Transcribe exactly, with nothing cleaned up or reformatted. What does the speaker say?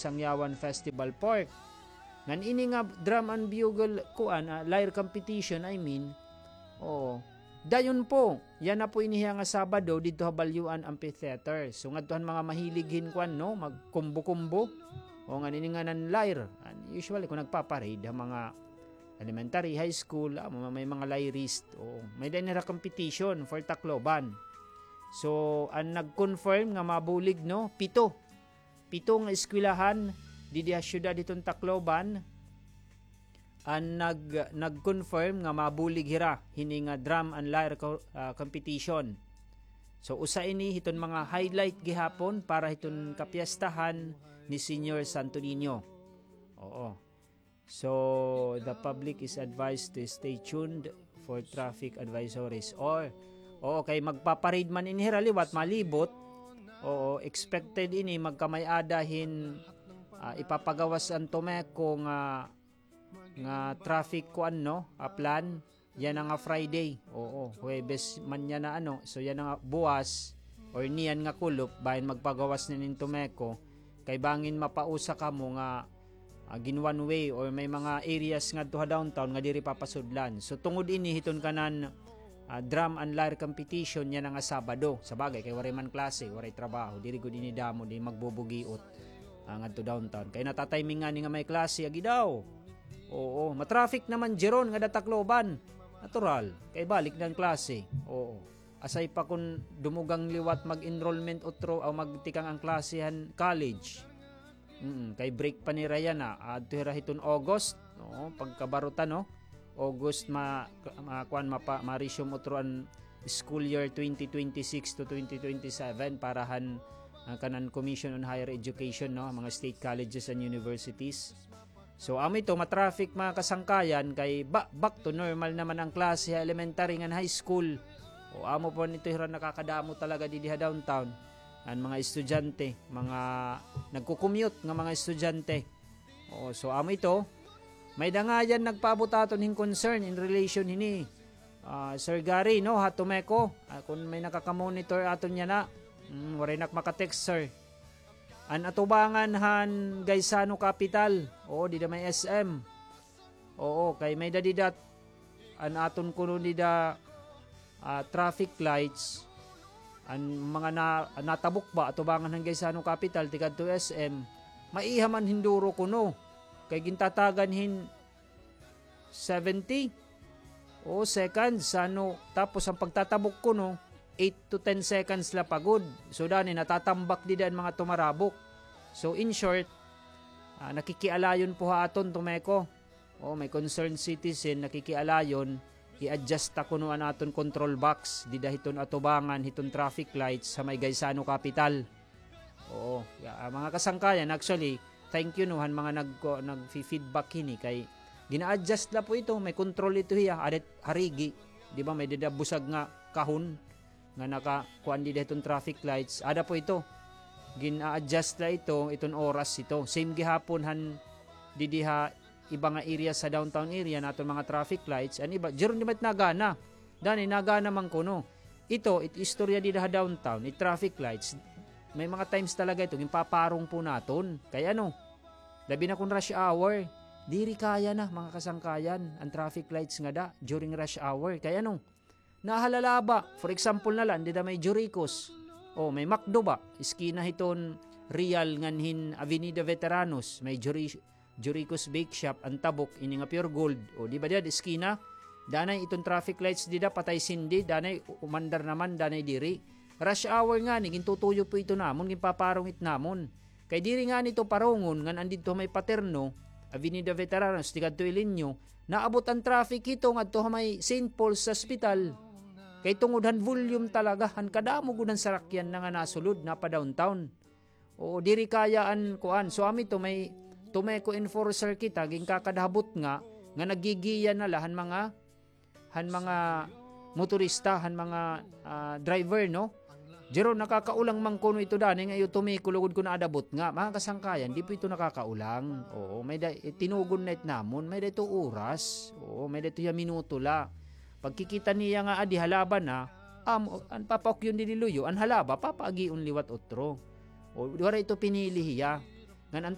Sangyawan Festival Park. Ngan ini nga drum and bugle, kuan, ah, lyre competition, I mean. Oo. Dayon po, yana po ini hiya nga Sabado didto ha Balyuan Amphitheater. So, ngadto han mga mahilig hin kuan, no, magkumbo-kumbo. O, ngan ini nga nan lyre. And usually, kung nagpaparade ha mga elementary, high school, ah, may mga lyrist. Oo. May-ada ini hira competition for Tacloban. So, an nag-confirm nga mabulig, no, pito. Pito nga eskwelahan didi ha siyudad hiton Tacloban an nag-, nag-confirm nga mabulig hira hini nga drum and lyre co-, ah, competition. So, usa ini hiton mga highlight gihapon para hiton kapiyastahan ni Señor Santo Niño. Oo. So, the public is advised to stay tuned for traffic advisories. Or, oo, kay magpaparade man ini hira liwat, malibot. Oo, expected ini, magkamay-ada hin, ah, ipapagawas an TOMECO nga, nga traffic kuan, no, ah, plan. Yana nga Friday. Oo, Huwebes man yana, ano. So, yana nga buwas or niyan nga kulop, bahin magpagawas na nin TOMECO. Kay bangin mapausa kamo nga, ah, gin one way or may mga areas ngadto ha downtown nga diri papasudlan. So, tungod ini hiton kanan, ah, drum and lyre competition yana nga Sabado. Sa bagay, kay waray man klase, waray trabaho. Diri gud ini damo, di magbubugiot, ah, ngadto downtown. Kay natatimingan ngani nga may klase, agi daw. Oo, matraffic naman diri ron ngada Tacloban. Natural, kay balik na an klase. Oo. Asay pa kon dumugang liwat mag-enrollment utro o magtikang an klase han college. Mm, kay break pa nira yana, ah, adto hira hiton August, no? Pagkabaruta, no? August ma-, ma-, kuan, mapa-, ma-resume utro an school year twenty twenty-six to twenty twenty-seven para han, ah, kanan Commission on Higher Education, no? Mga state colleges and universities. So, amo ito, matraffic, mga kasangkayan, kay ba-, back to normal naman an klase ha elementary ngan high school. O, amo pa man ito hira nakakadamo talaga didi ha downtown. An mga estudyante, mga nagko-commute nga mga estudyante. O, so, amo ito, may-ada ngayan nagpaabot aton hin concern in relation hini. Ah, Sir Gary, no, ha TOMECO. Ah, kon may nakaka-monitor aton yana. Mm, waray nak maka-text, sir. An atubangan han Gaisano Capital. Oo, dida may S M. Oo, kay may-ada dida an aton kuno dida, ah, traffic lights. An mga na-, natabok ba, atubangan han Gaisano Capital, tikadto S M. Maiha man hin duro kuno. Kay gintatagan hin seventy o seconds, ano, tapos an pagtatabok kuno, eight to ten seconds la pa gud. So, dani, natatambak dida an mga tumarabok. So, in short, ah, nakikialayon po ha aton, TOMECO. O, may concerned citizen, nakikialayon, i-adjust ta kuno an aton control box, dida hiton atubangan, hiton traffic lights ha may Gaisano Capital. Oo, ya, ah, mga kasangkayan, actually, thank you, no, han mga nag-, ko-, nagfi-feedback hini kay gina-adjust la po ito, may control ito hiya, adet harigi, di ba, may dida busag nga kahon nga naka-, kuan dida hiton traffic lights, ada po ito, gina-adjust la ito, iton oras ito. Same gihapon han didi ha iba nga area sa downtown area, naton mga traffic lights, an iba, diri man it nagana. Dani, nagana man kuno. Ito, it istorya dida ha downtown, it traffic lights, may mga times talaga ito, ginpaparong po naton. Kay ano, labi na kon rush hour, diri kaya na, mga kasangkayan, an traffic lights ngada during rush hour. Kay ano, nahalalaba. For example na la, dida may Juricos. O, may McDo ba? Eskina hiton Real ngan hin Avenida Veteranos, may Juri-, Juricos Bake Shop, an tabok, ini nga Pure Gold. O, di ba dida, eskina? Danay iton traffic lights dida, patay sindi, danay u-, umandar naman, danay diri. Rush hour ngani, gintutuyo po ito namon, ginpaparong it namon. Kay diri ngani ito parongon, ngan an didto may Paterno, Avenida Veteranos, tikadto Ileño, naabot an traffic hito ngadto ha may Saint Paul's Hospital. Kay tungod han volume talaga, han kadamo gud han sarakyan na nga nasulod, napa-downtown. Oo, diri kaya an kuan. So, ami to, may TOMECO enforcer kita, ginkakadhabot nga, nga naggigiya na la han mga, han mga motorista, han mga, ah, driver, no? Jero, nakakaulang man kuno ito dani nga iyo TOMECO lugod kuno adabot nga. Mga kasangkayan, di po ito nakakaulang. Oo, may-ada, eh, tinugon na it namon, may-ada ito oras. Oo, may-ada ito hiya minuto la. Pagkikita niya nga adi halaba na, am-, an papaukyon didi luyo, an halaba, papaagion liwat utro. O, waray ito pinili hiya. Ngan an